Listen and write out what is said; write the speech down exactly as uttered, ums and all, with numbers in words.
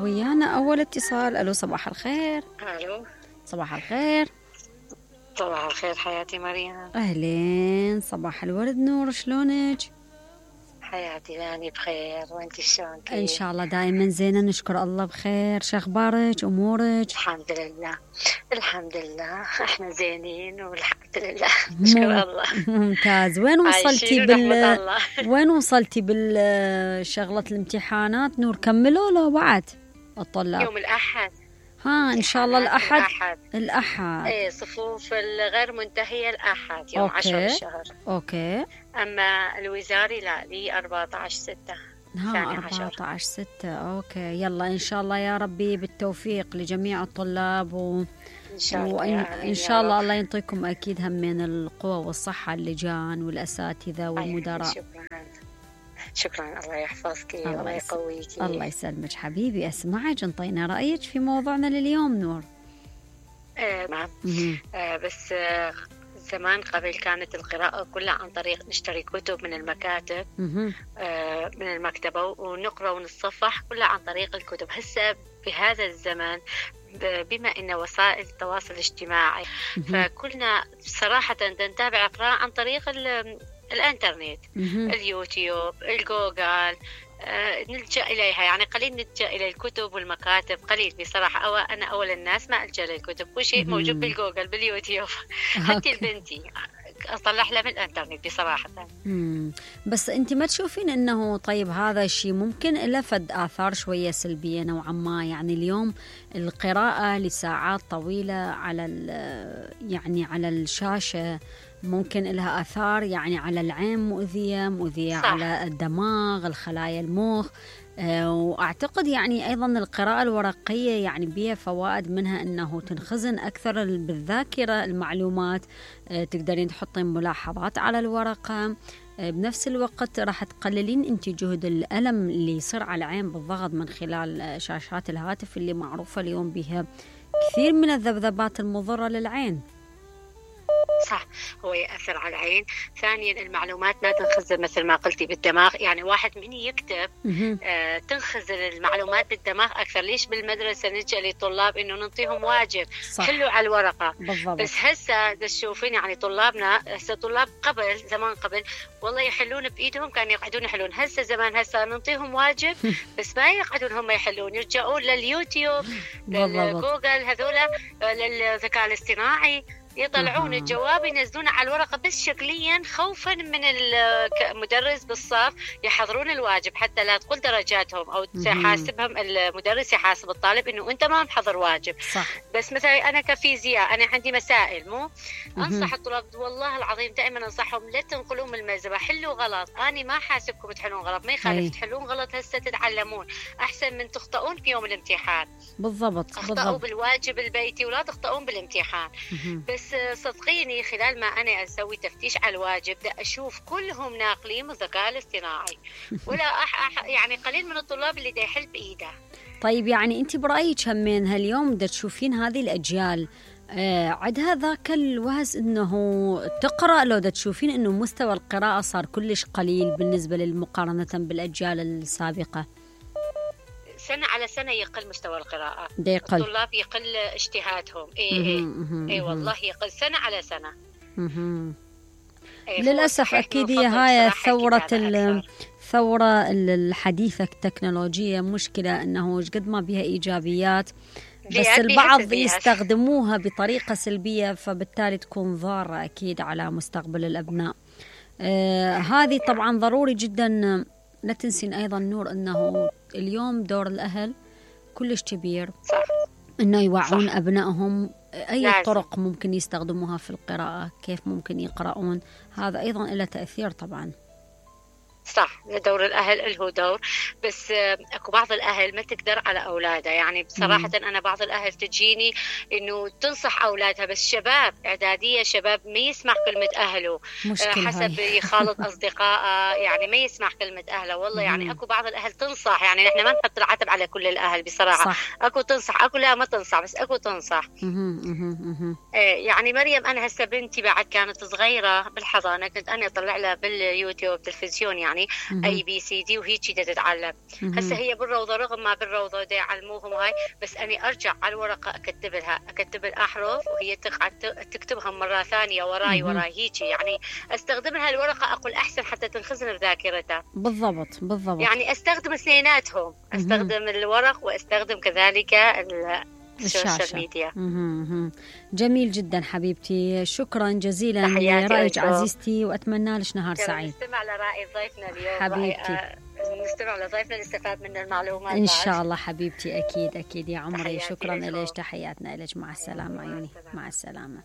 ويانا أول اتصال. ألو صباح الخير. الو صباح الخير. صباح الخير حياتي مريم. أهلين، صباح الورد نور، شلونك؟ حياتي لاني بخير، وانت شلون كيف؟ إن شاء الله دائما زينة، نشكر الله بخير. شو أخبارك أمورك؟ الحمد لله الحمد لله احنا زينين والحمد لله نشكر الله. ممتاز. وين وصلتي بال الله. وين وصلتي بالشغلة الامتحانات نور؟ كملوا لو بعد الطلاب؟ يوم الأحد ها إن شاء الله الأحد. الأحد الأحد ايه، صفوف الغير منتهية الأحد يوم أوكي. عشرة الشهر. أوكي. أما الوزاري لا، لي أربعة عشر ستة. ها أربعة عشر ستة. أوكي، يلا إن شاء الله يا ربي بالتوفيق لجميع الطلاب و... إن شاء الله وإن يا إن شاء الله الله ينطيكم أكيد هم من القوة والصحة اللجان والأساتذة والمدراء. شكرا شكرا، الله يحفظك الله الله يس- يقويك. الله يسلمك حبيبي. أسمعك، انطينا رأيك في موضوعنا لليوم نور. آه نعم. مهم. آه بس آه زمان قبل كانت القراءة كلها عن طريق نشتري كتب من المكاتب، مهم. آه من المكتبة ونقرأ ونتصفح كلها عن طريق الكتب. هسه بهذا الزمن ب- بما أن وسائل التواصل الاجتماعي مهم. فكلنا صراحة نتابع قراءة عن طريق ال- الانترنت، مهم. اليوتيوب، الجوجل، آه، نلجأ إليها. يعني قليل نلجأ إلى الكتب والمكاتب، قليل بصراحة. أو أنا أول الناس ما ألجأ للكتب، كل شيء موجود مهم. بالجوجل باليوتيوب. حتى أوكي. لبنتي أطلع لها من الانترنت بصراحة. مم. بس أنت ما تشوفين أنه طيب هذا الشيء ممكن له فد آثار شوية سلبية نوعا ما؟ يعني اليوم القراءة لساعات طويلة على ال- يعني على الشاشة ممكن لها آثار يعني على العين مؤذية مؤذية صح. على الدماغ، الخلايا المخ. آه، وأعتقد يعني أيضا القراءة الورقية يعني بها فوائد، منها أنه تنخزن أكثر بالذاكرة المعلومات. آه، تقدرين تحطين ملاحظات على الورقة. آه، بنفس الوقت راح تقللين أنت جهد الألم اللي يصير على العين بالضغط من خلال آه، شاشات الهاتف اللي معروفة اليوم بها كثير من الذبذبات المضرة للعين. صح، هو يأثر على العين. ثانيا المعلومات ما تنخزن مثل ما قلتي بالدماغ. يعني واحد من يكتب مهم. آه تنخزن المعلومات بالدماغ أكثر. ليش بالمدرسة نلجأ للطلاب إنه ننطيهم واجب صح. حلوا على الورقة؟ بالضبط. بس هسه تشوفين يعني طلابنا هسه، طلاب قبل زمان قبل والله يحلون بإيدهم، كانوا يقعدون يحلون. هسه زمان هسه ننطيهم واجب بس ما يقعدون هم يحلون، يرجعون لليوتيوب بالضبط. للجوجل هذولا للذكاء الاصطناعي، يطلعون أها. الجواب ينزلونه على الورقة بس شكليا، خوفا من المدرس بالصف يحضرون الواجب حتى لا تقل درجاتهم أو تحاسبهم المدرس، يحاسب الطالب إنه أنت ما محضر واجب. صح. بس مثلا أنا كفيزياء أنا عندي مسائل مو أنصح الطلاب والله العظيم دائما أنصحهم لا تنقلون من الملزمة، حلوا غلط. أنا ما حاسبكم تحلون غلط، ما أي. يخالف تحلون غلط هسه تتعلمون أحسن من تخطئون في يوم الامتحان. بالضبط. اخطأوا بالضبط. بالواجب البيتي ولا تخطئون بالامتحان. مهم. بس صدقيني خلال ما أنا أسوي تفتيش على الواجب دا أشوف كلهم ناقلين من الذكاء الاصطناعي ولا أح أح يعني قليل من الطلاب اللي دا يحل بإيده. طيب يعني أنت برأيك همين هاليوم دا تشوفين هذه الأجيال آه عندها ذاك الوهز إنه تقرأ، لو دا تشوفين إنه مستوى القراءة صار كلش قليل بالنسبة للمقارنة بالأجيال السابقة؟ سنة على سنة يقل مستوى القراءة، دا يقل. الطلاب يقل اجتهادهم. إيه إيه مهم. إيه مهم. والله يقل سنة على سنة. مهم. إيه للأسف فهو أكيد هي نفضل هاي صراحة ثورة الكتابة ال- أكثر. الثورة الحديثة التكنولوجية. مشكلة أنه قد ما بها إيجابيات بس بيها- البعض بيها سلبيات. يستخدموها بطريقة سلبية، فبالتالي تكون ضارة أكيد على مستقبل الأبناء. آه هذه طبعا ضروري جدا. لا تنسين أيضا نور أنه اليوم دور الأهل كلش كبير، صح أنه يوعون أبنائهم أي لازم. طرق ممكن يستخدموها في القراءة، كيف ممكن يقرؤون. هذا أيضا له تأثير طبعا. صح، دور الأهل له دور. بس آه، أكو بعض الأهل ما تقدر على أولادها. يعني بصراحة مم. أنا بعض الأهل تجيني إنه تنصح أولادها، بس شباب إعدادية شباب ما يسمع كلمة أهله. آه، مشكلة حسب هاي. يخالط أصدقائه يعني ما يسمع كلمة أهله. والله يعني مم. أكو بعض الأهل تنصح، يعني نحن ما نحط العتب على كل الأهل بصراحة. صح. أكو تنصح أكو لا ما تنصح، بس أكو تنصح. مهم. مهم. مهم. إيه يعني مريم أنا هسه بنتي بعد كانت صغيرة بالحضانة، كنت أنا أطلع لها باليوتيوب تلفزيون يعني يعني اي بي سي دي وهيك بدها تتعلم. هسه هي بالروضه رغم ما بالروضه دا يعلموهم هاي، بس اني ارجع على الورقه اكتب لها اكتب الاحرف وهي تقعد تكتبها مره ثانيه وراي وراي هيك، يعني استخدم لها الورقه اقول احسن حتى تنخزن بذاكرتها. بالضبط بالضبط. يعني استخدم اثنيناتهم، استخدم الورق واستخدم كذلك السوشيال ميديا. مهم. جميل جدا حبيبتي، شكرا جزيلا لرأيك عزيزتي، وأتمنى لك نهار سعيد. نستمع لرأي ضيفنا اليوم حبيبتي، نستمع لضيفنا نستفاد من المعلومات إن شاء الله حبيبتي. أكيد أكيد يا عمري، شكرا لك، تحياتنا لك، مع السلامة عيوني، مع السلامة.